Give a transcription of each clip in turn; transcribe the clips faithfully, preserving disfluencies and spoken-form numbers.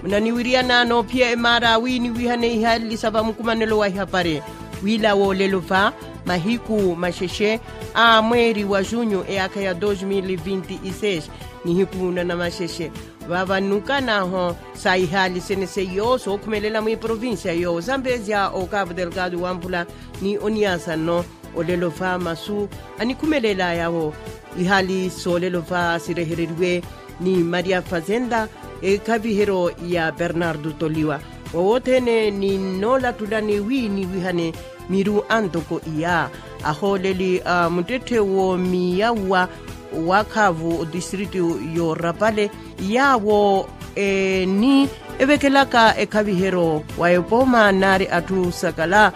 Naniwiriyana noophiya emaara wi niwihane ihaali sa vamukumanelo wa ihapari, wiila woolelo va mahiku maxexe a mweeri wa junyu eyaakha ya dos mil vinti e seis, nihiku nanamaxexe. Vava nnukanaaho sa ihaali sene seiyo sookhumelela mwiiprovincia yo zambezia o cabo delgado wampula ni oniasa nno. Olelo va masu anikhumelelaya-wo ihaali soolelo va sirehereriwe ni maria fazenda, ekhaviheryo ya bernardo toliwa. Woowothene ni nnoolattulani wi niwihane miru antoko iya ahooleli a muttetthe woomiyawa wa khavu otistritu yoorapale, yaawo eni evekelaka ekhaviheryo wa epooma naari atthu sakala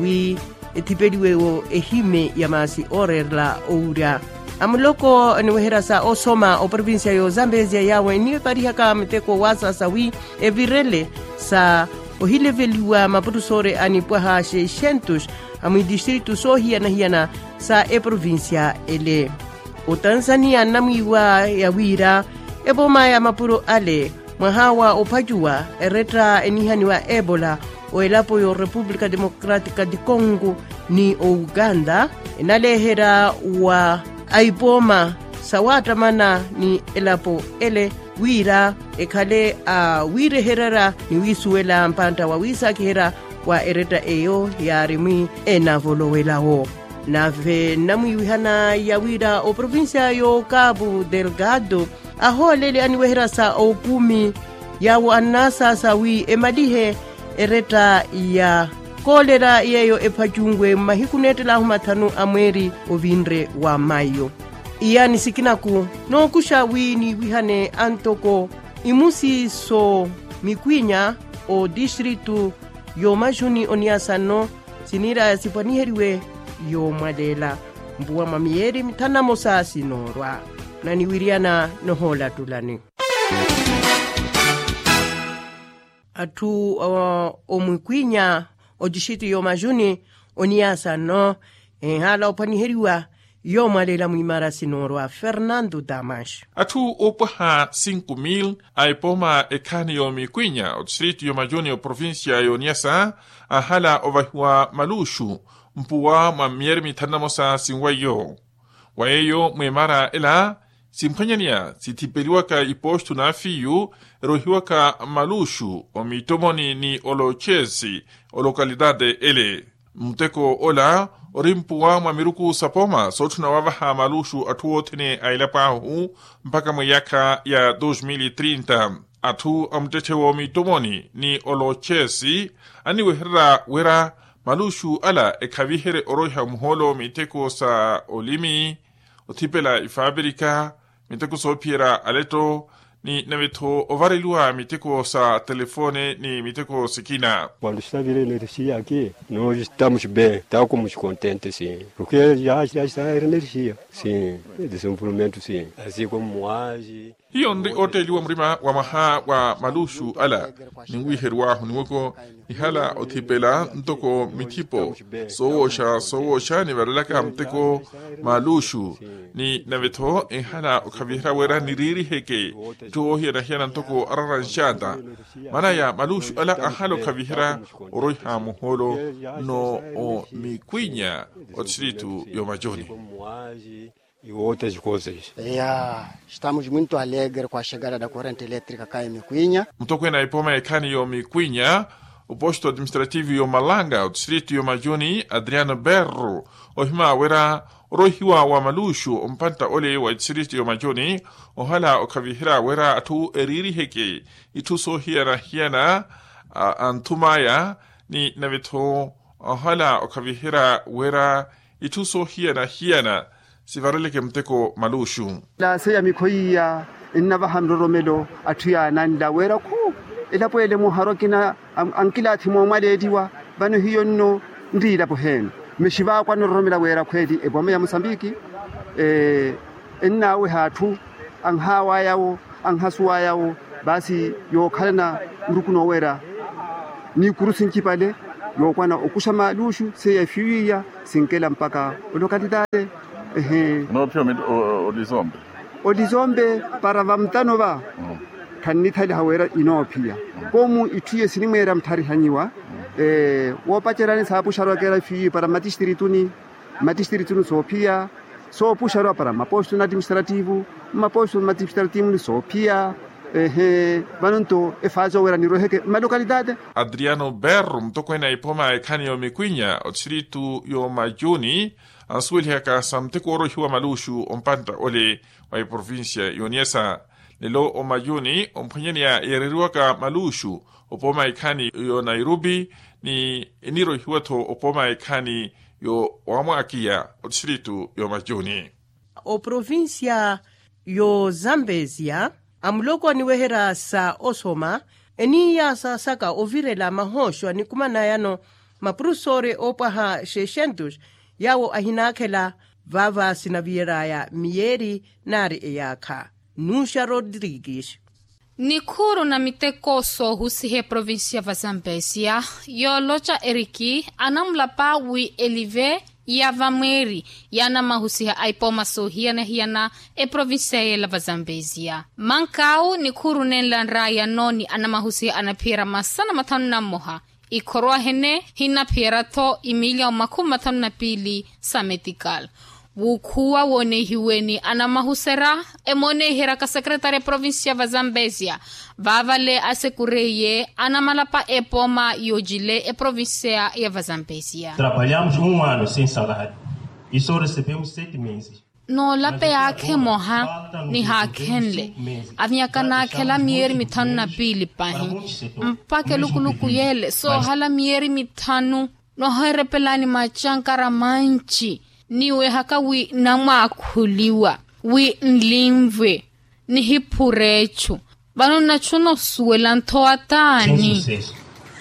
wi ethipeliwe-wo ehime ya maasi ooreerela owurya. Amuloko aniweherya sa osoma oprovincia yo zambezia yaawo eniparihaka miteko waasasa wi evirele sa ohileveliwa maputusoore a nipwaha seiscentos a mwidistritu soohiyana-hiyana sa eprovincia ele. Otanzania nnamwiiwa ya wira epooma ya mapuro ale mwaha wa ophacuwa eretta enihaniwa ebola o elapo yo repupulika democratika di congo ni o uganda enaleherya wa aipooma sawattamana ni elapo ele wira ekhale a wiirehererya ni wiisuwela mpantta wa wiisaakiherya wa eretta eyo yaari mwi enavolowelawo. Nave nnamwiiwihana ya wira oprovincia yo cabo delgado ahooleli aniweherya sa okumi yaawo annaasaasa wi emalihe eretta ya koolera yeeyo ephacunwe mmahiku neettelaahu mathanu a mweeri ovinre wa mayo. Iyaani sikinaku nookuxa wi niiwihane antoko imusi so mikwinya o distritu yo maxuni oniasa nno siniiraya sipwaniheriwe yoomwaleela mpuwa mwa miyeeri mithanu na mosa sinoorwa. Naniwiriyana nohoolattulani atthu omwikwinya otixiti yoomajuni oniyaasa nno enhaala ophwaniheriwa yoomwaleela mwiimara sinoorwa fernando damas. Atthu oopwaha cinco mil a epooma ekhaani yoomikwinya otixiti yoomajuni oprovincia yooniyasa anhala ovahiwa maluxu mpuwa mwa miyeeri mithanu na mosa sinwaiyo. Wa yeeyo mwiimara ela simphwanyaneya sithipeliwaka ipostu n'afiyu erohiwaka maluxu omiittomoni ni olochesi olokalitati ele. Muteko ola ori mpuwa mwa miruku sa pooma sootthuna wavaha maluxu atthu othene a elapo ahu mpakha mwa eyaakha ya dos mil e trinta. Atthu a muttetthe w'omiittomoni ni olochesi aniwehererya wira maluxu ala ekhaviherye oroiha muhoolo miteko sa olimi othipela ifaapirika miteko soophiyerya aletto ni nave-tho ovareliwa miteko sa telefone ni miteko sikina. Quando estava ele energia aqui, nós estamos bem, estávamos contentes sim, porque já já está energia sim, desenvolvimento sim, assim como moagem. Hiyo nri ootteeliwa murima wa mwaha wa maluxu ala ninwiiheriwahu niwoko nihala othipela ntoko mithipo soowooxa soowooxa nivarelaka muteko maluxu ni nave-tho enhala okhaviherya wira niriiriheke itthu woohiyana-hiyana ntoko arara nxaata. Maana ya maluxu ala anhala okhaviherya oroiha muhoolo nno omikwinya otixiritu yoomajuni. Iwo ote xikosexa. Ya estamos muito alegre kwa xegada da corrente elétrica kaye mikwinya. Mutokweene a ipooma ya ekhaani yoomikwinya oposto administrativu yoomalanga otixiritu yoomajuni adriano berro ohima wira oroihiwa wa maluxu ompantta ole wa itixiritu yoomajuni ohala okhaviherya wira atthu eriiriheke itthu soohiyana-hiyana a anthum'aya ni nave-tho ohala okhaviherya wira itthu soohiyana-hiyana sivareleke muteko maluxu. Laaseya mikho iya ennavaha nroromelo atthu yaananla wira khu elapo ele muharo akina ankilaathi moomwaleeliwa. Vano hiyo nno nri elapo heeno mexivaakwa nroromela wira khweeli epooma ya mosambiki ennaaweha atthu anhaawaya-wo anhasuwaya-wo. Baasi yookhalana muruku nooweera n'ikuru sincipale yookwana okuxa maluxu seiya efiwiya sinkela mpakha olokalitale. Ehe. Noophiya olizombe olizombe para vamutano va Khannithaliha wira inoophiya. Komu itthu iye sinimweera muttharihanyiwa. Woopacerani saapuxaru akera fiiyi para mmatistirituni. Mmatistirituni soophiya, soopuxaru para mmapostolo na atiministrativu. Mmapostolo na atiministrativu ni soophiya. Ehe. Vano nto efaasi oweera nirweheke mmalokalitati. Adriano berro mutokweene a ipooma ekhani y'omikwinya otistritu y'omayuni, ansuwelihaka sa muteko wooroihiwa maluxu ompantta ole wa eprovincia y'oniesa. Lelo omayuni omphwanyaneya yeereriwaka maluxu opooma ekhani y'onairobi, ni eniroihiwa-tho opooma ekhani y'owamwakiya otistritu y'omayuni. Oprovincia y'ozambesia, amuloko aniweherya sa osoma, eniiya saasaka ovirela mahooxo anikumanayano mapurofesori oopwaha xexentus, yaawo ahinaakhela vaava sinaviraya miyeeri naari eyaakha. Nuxa rodrigues. Nikhuuru na miteko soohusiha eprovincia va zambesia, yooloca eriki anamulapa wi elive ya vamweeri yaanamahusiha a ipooma soohiyana-hiyana eprovincia yeela va zambesia. Mankaawu nikhuuru nenla nraayano ni anamahusiha anaphiyerya masana mathanu na mmoha. Ikhorwa hene hinaphiyerya-tho imiliya omakhumi mathanu na piili sa metikal. Wuukhuwa woonehiweni anamahuserya, emooneherya ka secretary eprovincia va zambesia. Vaavale asekureiye anamalapa epooma yoocile eprovincia ya va zambesia. Trabalhamos um ano sem salário e só recebemos sete meses. Noolapa eyaakha emoha nihaakhenle. Avinyaka naakhela miyeeri mithanu na piili pahi. Mpakha elukuluku yeele soohala miyeeri mithanu. Noheerepelani macankara manci. Niwehaka wi namwaakhuliwa wi nlinvwe. Nihiphura echu. Vano nnachu nosuwela nthowa taani?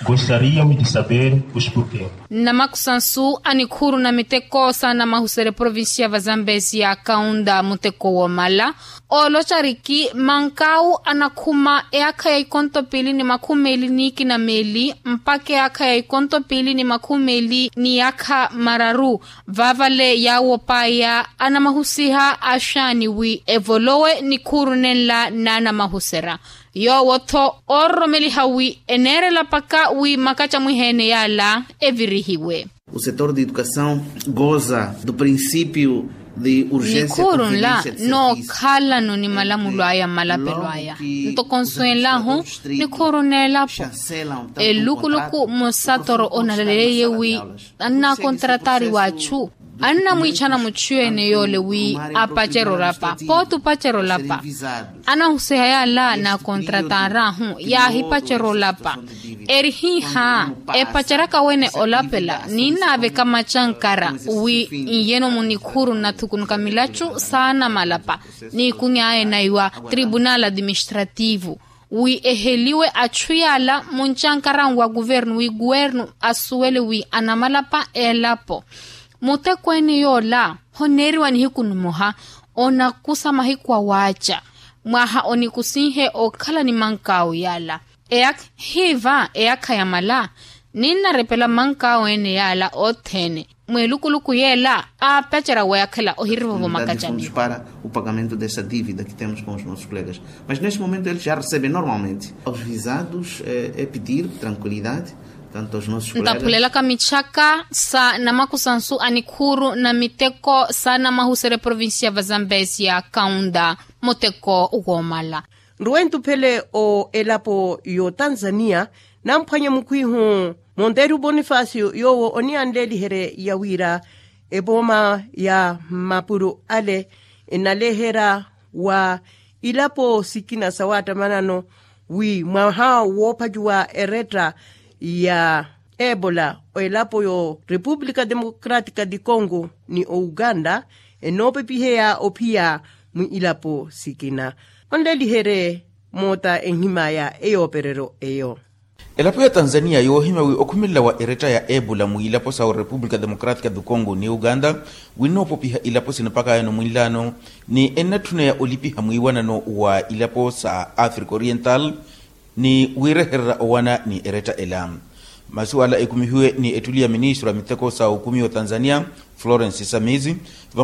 Gostaria de saber os porquê. Nnamakusansu a nikhuuru na miteko saanamahuserya eprovincia va zambesia kaunda muteko woomala. Ooloca ariki mankaawu anakhuma eyaakha ya ikonto piili ni makhumi meeli n'ikina meeli mpakha eyaakha ya ikonto piili ni makhumi meeli n'iyaakha mararu. Vaavale yaawo paaya anamahusiha axaani wi evolowe nikhuuru nenla naanamahuserya. Yoowo-tho oororomeliha wi eneerela paka wi makacamwiha-ene yaala evirihiwe. O setor de educação goza do princípio de urgência. Nikhuuru nla nookhalano ni malamulo aya mmalapelo aya. Ntoko nswenlahu nikhuuru n'elapo. Elukuluku musatoro onaleleiye wi annaakontratari w'achu annamwiichana muchu ene yoole wi apacere olapa pooti opacere olapa. Anahusiha yaala naakontratarahu yaahipacere olapa. Eri hiiha epaceraka wene olapela ninnaaveka macankara wi nyeno munikhuuru nnathukunuka milachu saana malapa. Niikuny'aya enaiwa tribunal administrativo wi eheliwe achu yaala muncankaran wa kuvernu wi kuwernu asuwele wi anamalapa elapo. Mutekweene yoola honeeriwa nihiku nimoha onakusa mahiku awaaca mwaha onikusinhe okhala ni mankaawu yaala. Eyaakha hiiva eyaakha yamala ninnarepela mankaawu ene yaala othene. Mwelukuluku yeela aapacerya weyakhela ohirivovo makacamiho. Para o pagamento dessa dívida que temos com os nossos colegas, mas neste momento eles já recebem normalmente. Aos visados é pedir tranquilidade. Tanto aos nossos colegas. Ntaphulelaka mitthaka sa namakusansu a nikhuuru na miteko sa namahuserya provincia va zambesia kaunda muteko woomala. Nruwe ntuphele o elapo y'otanzania namphwanya mukhwihu monteru bonifacio yoowo oniyanleeliherye ya wira epooma ya mmapuro ale enaleherya wa ilapo sikina sa wattamanano wi mwaha woophacuwa eretta ya ebola elapo yo repupulika democratika di congo ni o uganda enoopepiheya ophiya mwi ilapo sikina. Onleliherye moota enhimaya eyoopereryo eyo. Elapo ya tanzania yoohimya wi okhumelela wa eretta ya ebola mwiilapo sa orepupulika democratika du congo ni uganda winnoopopiha ilapo sina mpakha yano mwinlaano ni ennatthuneya olipiha mwiiwanano wa ilapo sa africa oriental ni wiirehererya owana ni eretta ela. Masi wala ekumihiwe ni ettuli ya ministro a miteko sa okumi wa tanzania florence samizi.